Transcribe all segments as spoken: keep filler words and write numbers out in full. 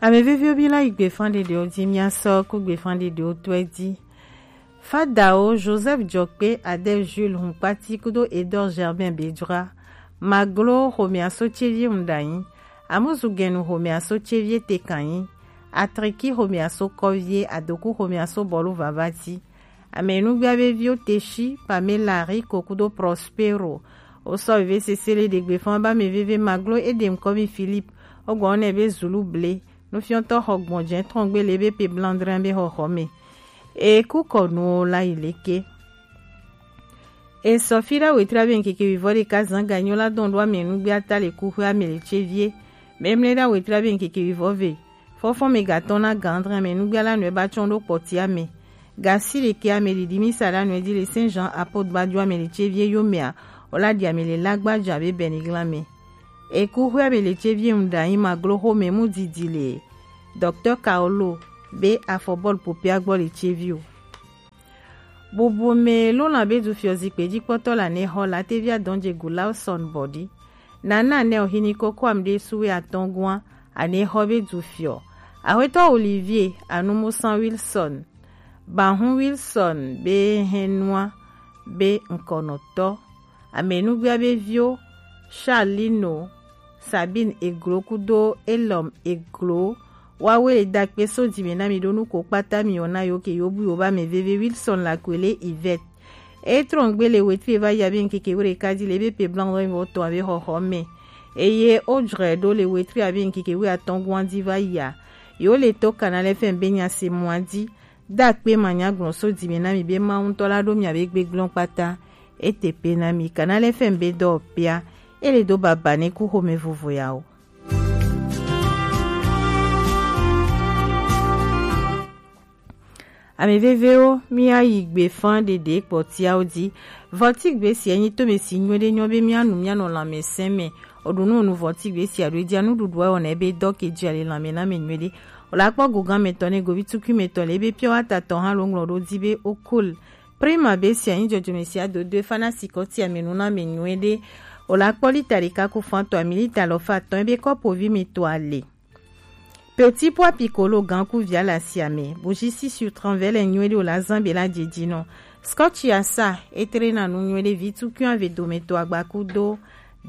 Ame veviwo, mi la yi gbefan ɖeɖewo ji, mia sɔ ku gbefan ɖeɖewo tɔe ji. Fadawo Joseph Jɔkpe, Adel Jules Hunkpati kudo Edor Germain Bedra, Maglo xomɛaso Cevie Muɖanyi, Amuzu Gɛnu xomɛaso Cevie Tekanyi, Atriki xomɛaso Kɔvie, Adoku xomɛaso Bɔlu Vavati, Ame nugbia be viwo Teshi, Pamela, Riko kudo Prospero. Wo sɔ veve sese le ɖe gbefan ba ame veve Maglo Edem Kɔmi Philippe. Wo gbɔ ne be Zulu ble. Nufiɔtɔ xɔ gbɔn jɛ trɔngbe le be pe blandrin be xɔxɔ me. E ku kɔ nuwo la yi leke. E sɔ fi ɖa wetri abe ŋkeke wivɔ ɖeka zan ganyo la dɔn ɖo ame nugbia ta le kuxwe ame le ce vie. Memle ɖa wetri abe ŋkeke wivɔ ve. Fɔfɔ me gatɔn na gandrin ame nugbia la nɔe ba tsɔn ɖo kpɔtia me. Gasi ɖeke ame ɖiɖi mi sa ɖa nɔe di le Saint Jean Apôtre ba jo ame le ce vie yo mea, o la ɖi ame le lagba jo abe bɛnigla me. E kuxwe ame le ce vie ŋu ɖa yi Maglo xo me mu didi le Docteur Kaolo be afɔbɔlu popia gbɔ le ce vi o. Bubu me lona be du fiɔ zikpe ji kpɔtɔ la ne xɔ la te via dɔn je gu Lawson bɔdi. Nana ne o hini koko am ɖe suwe atɔn gua, ane xɔ be du fiɔ. Axwetɔ Olivier Anumusan Wilson, Bahun Wilson be hɛnua be ŋkɔnɔtɔ. Ame nugbia be viwo Charlino, Sabine Eglo kudo Elom Eglo. Wawe le dakpe so dime na mi ɖo nuko kpata mi wɔna yo ke yo bu yo ba me veve Wilson la kwele Yvette. E trɔngbe le wetri va ya be ŋkeke were kadi le be pe blanc vɔ tɔn abe xɔxɔ me. Eye o jrɛ ɖo le wetri abe ŋkeke we atɔn guan di va ya. Yo le to Canal F M be nya se mua di. Dakpe ma nya gblɔ so dime na mi be Mawu ŋutɔ la ɖo mia be gbegblɔ kpata. E te pe na mi Canal F M be dɔ pia. E le do baba ne ku xome vovo ya o. Ame vevewo, mía yi gbe fã ɖeɖe kpɔtiawo dzi. Vɔtigbe sia nyi tome si nyuie ɖe nyɔ be mía nu mía nɔ lãmesẽ me. Oɖo nu nu vɔtigbe sia ɖo dzia nuɖuɖua wɔna ebe dɔ ke dzia le lãme na me nyuie ɖe. O la kpɔ gogan me tɔ ne govi tukui me tɔ le ebe pure water tɔ hã lo ŋlɔ ɖo dzi be o cool. Prima be sia nyi dzɔdzɔme sia dodoe fa na sikɔtia me nu na me nyuie ɖe. O la kpɔ lita ɖeka ku fã tɔ ami lita lɔ fa tɔ ebe kɔpo vi mi tɔ ale. Petit pois piccolo gan ku via le asia me. Bougie six sur trente vɛ le nyuie ɖe o la zan be la dzedzi nɔ. Scotch ya sa etre na nu nyuie ɖe vi tukui ave dome to agba ku do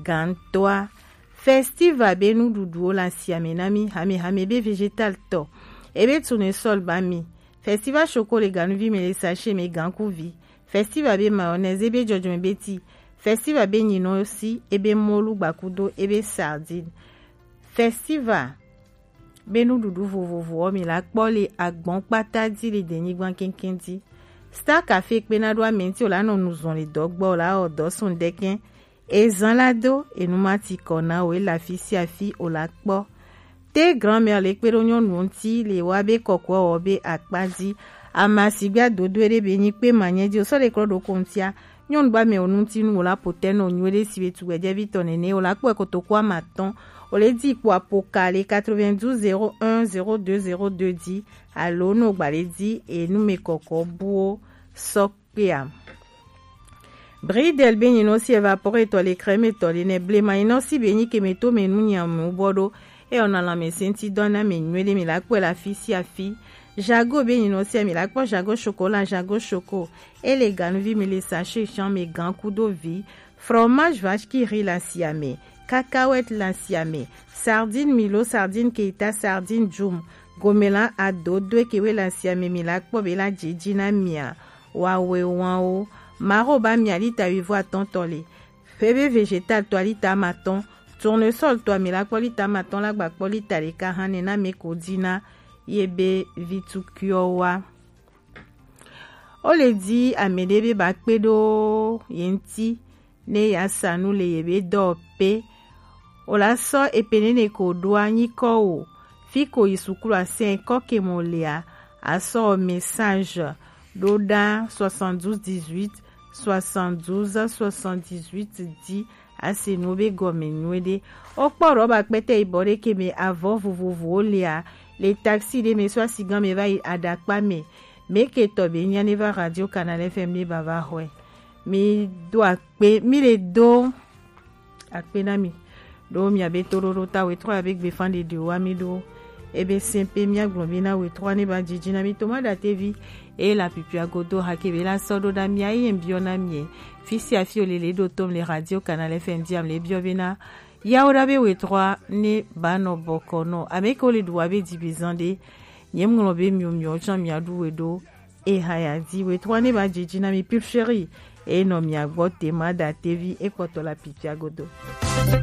gan toa. Festival be nuɖuɖuwo le asia me na mi hame hame be vegetal tɔ. Ebe tournesol ba mi. Festival choco le ganuvi me le sachet me gan ku vi. Festival be mayonnaise ebe dzɔdzɔme be ti. Festival be nyinɔ si ebe molu gba ku do ebe sardine. Festival be nuɖuɖu vovovowo mi la kpɔ le agbɔn kpata dzi le denyigba keŋkeŋ dzi. Star Cafe kpena ɖo ame ŋuti o la nɔ nu zɔn le dɔ gbɔ o la wɔ dɔ sun ɖekɛ. Ezan la do enu ma ti kɔ na o e le afi sia afi o la kpɔ. Te grand-mère le kpe ɖo nyɔnuwo ŋuti le wa be kɔkɔe wɔ be akpa dzi. Ama sigbe adodoe ɖe be nyi kpe ma nyɛ dzi o sɔ le klɔ ɖo ko ŋutia. Nyɔnu ba mɛ o nu ŋuti nu o la po tɛ nɔ nyuie ɖe si be tugbɛjɛvi tɔ nɛnɛ o la kpɔe kotoku ama tɔn. O le di kpo apoka le quatre-vingt-douze zéro un zéro deux zéro deux dzi alo no gba le di enu me kɔkɔ buwo sɔ kpea. Bridel be nyinɔ si évapore tɔ le crème tɔ le nɛ blema nyinɔ si be nyi keme to me nu nyam mu bɔ ɖo. Eyɔ na lãmesẽ ŋuti dɔ na mi nyuie ɖe mi la kpɔe le afi sia afi. Jago be nyinɔ sia mi la kpɔ jago chocolat jago choco. Ele ganuvi mi le sachet champ me gan kudo vi. Fromage vache qui rit le asia me. Cacahuète le asia me. Sardine milo sardine keita sardine djum. Gomela adodoe ke we le asia me mi la kpɔ be la dzedzi na mia. Wawe wan o. Maro ba mia lita wivɔ atɔn tɔ le. Ƒe be vegetal tɔ lita ama tɔn. Tournesol tɔ mi la kpɔ lita ama tɔn la gba kpɔ lita ɖeka hã ne na me ko dzi na ye be vitukuiɔ wa. O le di ame ɖe be ba kpe ɖo ye ŋuti ne ya sa nu le ye be dɔ pe. O la sɔ epe nene ko ɖo anyi kɔ o. Fi ko yi sukulu asɛn kɔ ke mo lea, a sɔ message ɖo ɖa soixante-douze dix-huit soixante-douze soixante-dix-huit di a se nu be gɔme nyuie ɖe. O kpɔ ɖɔ ba kpɛtɛ yi bɔ ɖe ke me avɔ vovovowo lea, le taxi ɖe me sɔ asigan me va yi aɖakpa me. Me ke tɔ be nya ne va Radio Canal F M ne ba va xɔe. Mi do akpe, mi le do akpe na mi. Ɖo mia be toɖoɖo ta wetrɔ ya be gbefa ɖeɖi wa mi ɖo. Ebe sɛn pe mia gblɔ be na we trɔ ne ba dzidzi na mi to ma da tevi. Eye la pipia godo hake be la sɔ ɖo ɖa mia ye biɔ na mie. Fisi afi o lele ɖo tom le radio Canal F M diam le biɔ be na yawo ɖa be we trɔ ne ba nɔ bɔkɔ nɔ. Ame ke wo le ɖu wa be dzibi zan ɖe. Nye ŋlɔ be mio mio tsɔ mia ɖu we ɖo. E ha ya di we trɔ ne ba dzidzi na mi pil chéri. E nɔ mia gbɔ te ma da tevi e kpɔtɔ la pipia godo.